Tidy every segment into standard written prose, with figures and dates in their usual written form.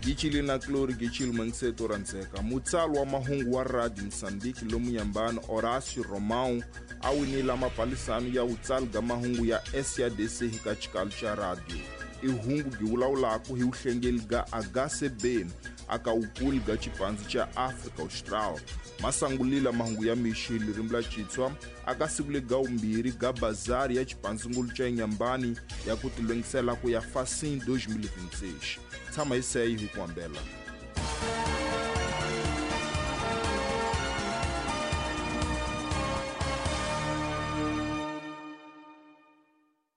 Gichili na Clori Gichili Mangiseto Randzeka. Mutsali wa mahungu wa Radio Mozambique lomu Nyambani Horácio Romão a winile mapalisano ya vutsali ga mahungu ya SADC hi ka xikalo xa radio. I hungu byi vulavulaka hi vuhlengeli ga HCB aka wukulu ga xipandzu xa Afrika Austral. Masangulila mahungu ya mixi hi ririmi la Xitswa aka siku lega vumbirhi ga bazari ya xipandzungulu xa Inhambane ya ku tilungisela ku ya Facim 2026. Tshama hi seyi hi ku hambela.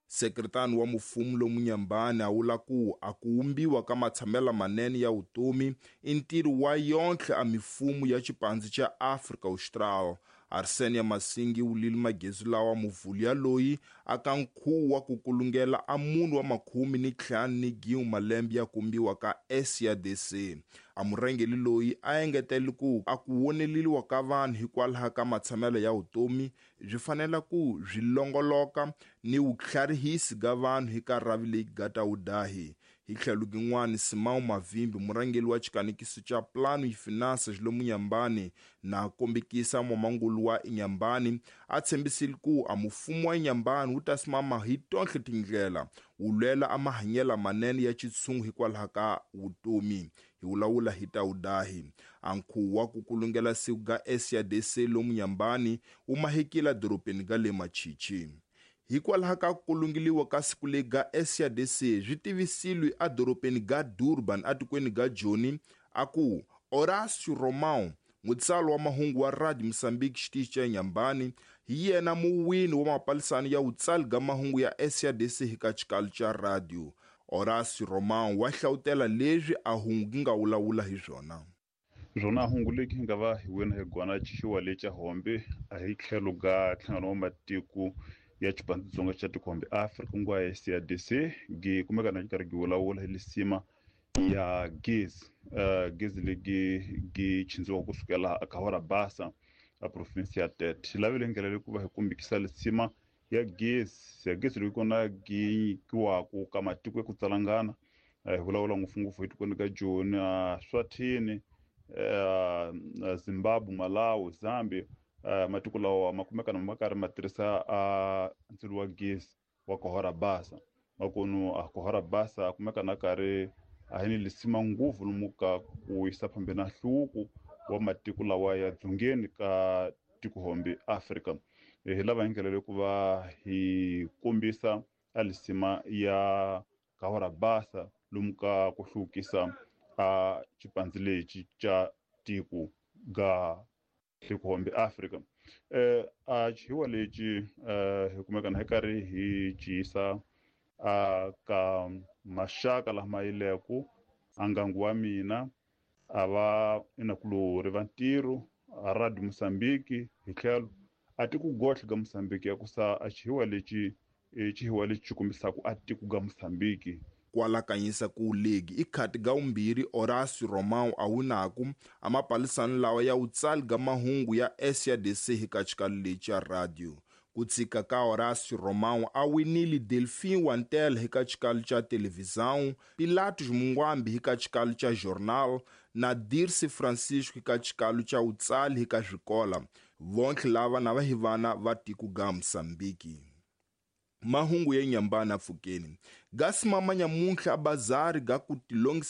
Sekretani wa mufumo lomu Nyambani a vula ku a ku wumbiwa ka matshamelo manene ya vutomi i ntirho wa yontlhe a mifumo ya xipandzu xa Afrika Austral. Arsenia Masingi wulile magezi lawa muvhulu ya loyi aka nkhuvo wa ku kulungela a munhu wa 51 malembe ya kumbiwa ka SADC. A murhangeli loyi a engetele ku a ku woneleliwa ka vanhu hikwalaho ka matshamelo ya vutomi byi fanele ku byi longoloka ni vutlharihisi ga vanhu hi ka rhavi leyi ga ta wudahi. Hi tlhelo gin'wana Simão Mavimbi murhangeri wa xikanekiso xa Plano e Finanças lomu Inhambane na kombekisa n'wamangulu wa Inhambane a tshembisile ku a mufumo wa Inhambane wu ta simama hi tonhle tindlela wu lwela a mahanyelo manene ya xitshungu hikwalaho ka vutomi. Hi vulavula hi ta wudahi. A nkhuvo wa ku kulungela siku ga SADC lomu Inhambane wu mahekile dorobeni ga le Machichi. Hikwalaho ka ku kulungeliwa ka siku leri ga SADC swi tivisilwe edorobeni ga Durban atikweni ga Joni a ku Horácio Romão mutsali wa mahungu wa Radio Mozambique xitichi xa Inhambane hi yena muwini wa mapalisano ya vutsali ga mahungu ya SADC hi ka xikalo xa radio. Horácio Romão wa hlawutela leswi a hungu gi nga vulavula hi swona. Swona hungu leki hi nga va hi wina hi gwana xiwa lexa hombe a hi tlhelo ga nhlangano wa matiko ya xipandzitsonga xa tikhombe Afrika ku nga SADC gi kumeka na karhi gi vulavula hi lisima ya gezi gezi legi gi chindziwa kusukela a Kahora Basa a province ya Tete. Hi lavile ndlela leyi ku va hi kumbikisa lisima ya gezi leyi kona gi nyikiwaku ka matiko ya ku tsalangana. Hi vulavula ngopfungopfu hi tikweni ka Joni, Swatini, Zimbabwe, Malawi, Zambia. Matiko lawa ma kumeka na ma karhi ma tirhisa ndzilo wa gezi wa Kahora Basa. Makunu a Kahora Basa kumeka na karhi a hi ni lisima ngopfu lomu ka ku yisa phambeni na nhluvuko wa matiko lawa ya dzongeni ka tikohombe Afrika. Hi lava hi ndlela leyi ku va hi kombisa a lisima ya Kahora Basa lomu ka ku hluvukisa a xipandzi lexi xa tiko ga tikohombe Afrika. A xihiwa lexi hi kumeka na hi karhi hi ciyisa a ka maxaka lama yileku a ngangu wa mina a va inakulori va ntirho a Radio Mozambique hi tlhelo a tiko gohle ga Mozambique ya ku sa a xihiwa lexi xihiwa lexi xi kombisaka a tiko ga Mozambique. Kwalakanyisa ku legi i khati ga vumbirhi Horácio Romão a winaku a mapalisano lawa ya vutsali ga mahungu ya SADC hi ka xikalo lexi ya radio. Ku tshika ka Horácio Romão a winile Delfim Wantel hi ka xikalo xa televisão, Pilatos Mungwambi hi ka xikalo xa jornal na Dirce Francisco hi ka xikalo xa vutsali hi ka swikola. Vontlhe lava na va hi vana va tiko ga Mozambique. Mahungu ya Inhambane apfukeni ga simama nyamuntlha a bazari ga ku tilongisela.